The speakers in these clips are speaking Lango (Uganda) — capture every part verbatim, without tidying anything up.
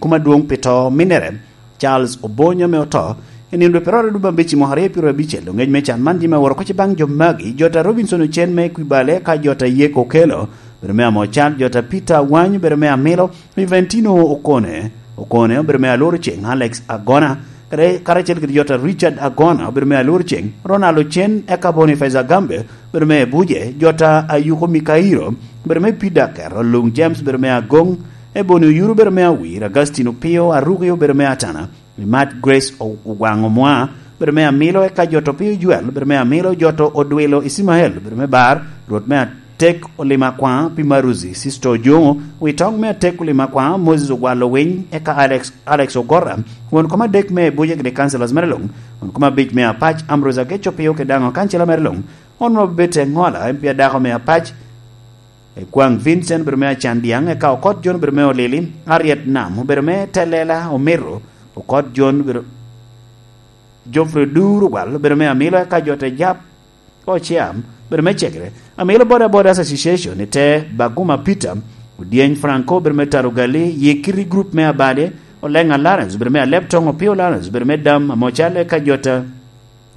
Kuma dwoŋ pi to minnere, Charles Obonyo ame oto i nino dwe peraryo dwe abicel mwaka aryo pyeraryo abicel, oŋec me can man jami aworo koc baŋ jo magi, jota Robinson Ocen me Kwibale, ka jota Yek Okelo, bedo me Amocal, jota Peter Awany, bedo me Amilo, Juventino Okone, Okone, bedo me Alworo Ceng, Alex Agona, kare-, karacel kede jota Richard Agona, bedo me Alworo Ceng, Ronald Ocen, eka Boniface Agambe, bedo me Ebuje, jota Ayuko Mikairo, bedo me Pida Kero, Luŋ James, bedo me Agoŋ, Ebony Oyuru, bedo me Awir, Agustin Opio, Aruki, obedo me Atana, Imat Grace O-, Ogwaŋ Omwa, bedo me Amilo, eka jot Opio Juel, bedo me Amilo, jot Odwilo Icimael, bedo me Bar, Rwot me Atek Olim Akwaŋ, pi Maruzi, Sister Ojoŋo, Witoŋ me Atek Olim Akwaŋ, Moses Ogwal Owiny, eka Alex, Alex Ogora, won kom adek me Buja kede Councilors mere luŋ, won kom abic me Apac, Ambrose Agec Opio kede daŋ kancila mere luŋ, won ma obed te ŋola, en pia dako me Apac, Ekwaŋ Vincent obedo me Acan Diaŋ, eka Okot John obedo me Olili, Harriet Nam obedo me Telela Omiro, Okot John obedo, Geoffrey Duru Ogwal obedo me Amilo, eka Jote Jap Ociam obedo me Cegere, Amilo Boda Bodas Association i te Baguma Peter, Odyeny Franco obedo me Tarugali, Yekiri Group me Abade, Olenga Lawrence obedo me Alep Toŋ, Opio Lawrence obedo me Dam Amocal, eka Jota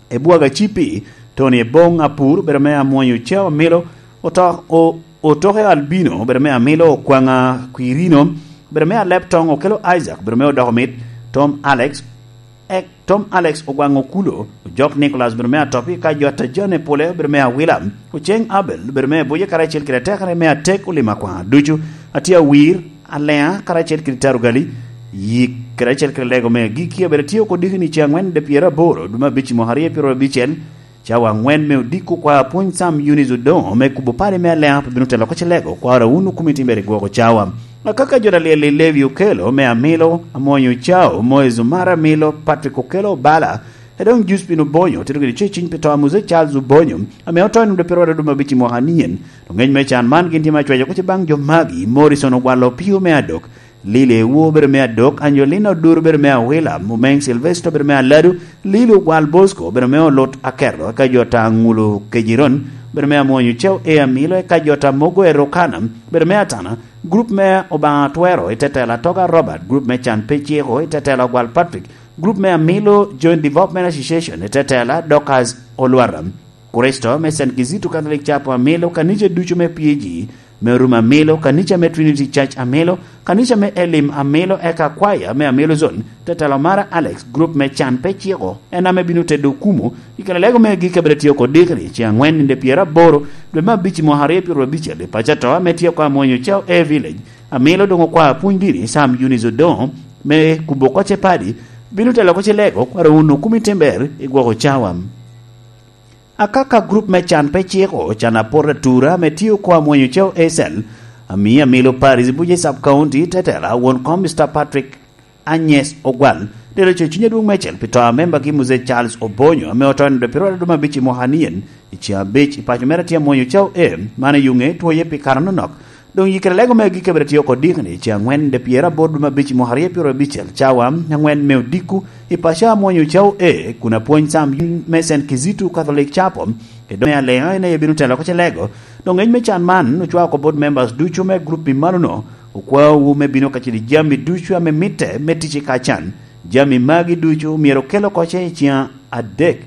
Ebwaga Cipi, Tony Ebong Apur, bedo me Amwonyo Cao Amilo, oto-, o-, Otoke Albino, bedo me Amilo, Okwaŋa Kwirino, bedo me Alep Toŋ, Okelo Isaac, bedo me Odoko Mit, Tom Alex, ek, Tom Alex Ogwaŋ Okulo, Ojok Nicholas, bedo me Atopi, ka Jota Jane Pole, bedo me Awila, Oceng Abel, bedo me Abuja, karacel kede atekere me Atek Olim Akwaŋ ducu, atye awir, Aleŋa, karacel kede Tarugali, Yik, karacel kede Lego me Agikki, abedo atye oko diki ni ceŋ aŋwen de pyeraboro, dwe me abic i mwaka aryo pyeraryo abicel, cawa aŋwen me odiko kwa apwony Sam Eunice Odoŋo me kubo pari me Aleŋa pe bino telo oko Cilego, kwaro wun okumi timbere i gwoko cawa. Akaka jo alyel i Levi Okelo me Amilo, Amwonyo Cao, Moez Omara Amilo, Patrick Okelo Obala, Edoŋ Juspin Obonyo, otito kede ceciny pi to a Muse Charles Obonyo, ame oto i nino dwe pyeraryo dwe me abic i mwaka anyen. Oŋec me can man gin tye me acwaco kuc baŋ jo magi, Morrison Ogwal Opio me Adok, Lili Ewo obedo me Adok, Angelina Odur obedo me Awila, Mumeng Sylvester obedo me Aladu, Lili Ogwal Bosco obedo me Olut Akerlo, eka jo ta Ŋulo Kejiron obedo me Amwonyo Ceo e Amilo, eka jo ta Mogo Erokana obedo me Atana, grup me Obaŋa Twero i tetela Toga Robert, grup me Can Pe Ciko i tetela Ogwal Patrick, grup me Amilo Joint Development Association i tetela Dorcas Olwara. Kricito me Saint Kizito Catholic Chapel Amilo, kanica ducu me P A G me Orum Amilo, kanica me Trinity Church Amilo, kanica me Elim Amilo, eka kwaya me Amilo Zone, tetelo mara Alex, grup me Can Pe Ciko, en ame bino tedo okumu, i kare lego me agikki abed atye oko dikri, ceŋ aŋwen ninde pyeraboro, dwe me abic i mwaka aryo pyeraryo abicel, i paco ato ame tye oko Amwonyo Cao A Village, Amilo doŋ okwa apwony dini, Sam Eunice Odoŋo, me kubo oko Cepadi, bino telo oko Cilego, kwaro wun okumi timber i gwoko cawa. Akaka grup me Can Pe Ciko, Can Apot Atura, ame tye oko Amwonyo Ceo Acel, ami Amilo Paris, Buje Sub County, tetela, won kom Mister Patrick Anyes Ogwal, tero co cuny adwoŋ meicel pi to a membagi Muse Charles Obonyo, ame oto i nino dwe pyeraryo dwe me abic i mwaka anyen, i ceŋ abic i paco mere tye Amwonyo Ceo A, man oyuŋe twoye pi kare anonok. Doŋ yikere lego me agikki abed atye oko dikni, ceŋ aŋwen de pyeraboro dwe me abic i mwaka aryo pyeraryo abicel, cawa aŋwen me odiko, i paco Amwonyo Ceo A, kun apwony Sam Yun me Saint Kizito Catholic Chapel, i dome Aleŋa en aye bino telo oko Cilego. Doŋ ŋec me can man ocwao oko bot members ducu me grup i malono, okwaowu me bino kacel i jami ducu ame mitte me tic i kacan. Jami magi ducu myero okel oko ce i ceŋ adek.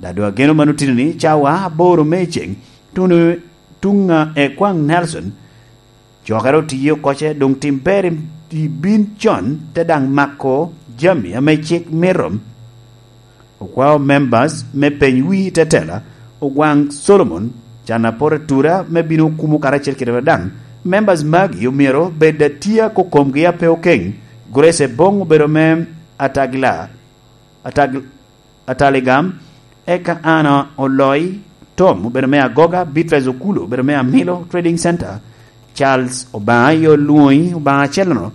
Dado ageno man otino ni cawa aboro me i ceŋ, tuno tuŋ a Ekwaŋ Nelson, cokere otiye oko ce, doŋ tim ber i bin con, te daŋ mako jami ame cik mito. Okwao members me peny wi tetela, Ogwaŋ Solomon, can apot atura me bino kumo karacel kede daŋ. Members magi omyero bed atia kokomgi ape okeŋ. Grace Ebong obedo me Atagila, Atag-, Ataligam, eka Ana Oloi, Tom obedo me Agoga, Beatrice Okulu obedo me Amilo Trading Center, Charles Obaŋa yo Lwoŋi, Obaŋa acel-no,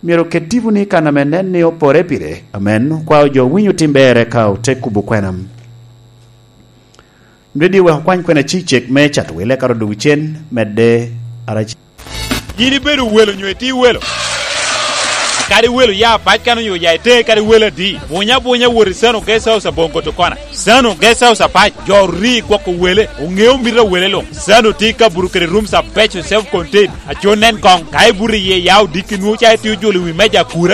myero oket tipo ni kan ame nen ni opore pire. Amen. Okwao jo winyo tim ber eka ote kubo kwena. Radio wek okwany kwena cicek me cato wele ka odwogo cen medde arac. Yin ibedo welo nyo itye welo? Kadi welo ya pac kan onyo ya ite kadi welo adi? Bunya bunya wot i Sano Guest House aboŋo koto kona. Sano Guest House apac, jo ori gwoko wele, oŋeo mito a wele luŋ. Sano tye ka buto kede rooms abeco self contained. Aco nen koŋ, ka ibuto iye ya odiki nwoŋo ca itye ojolo i wi meja akura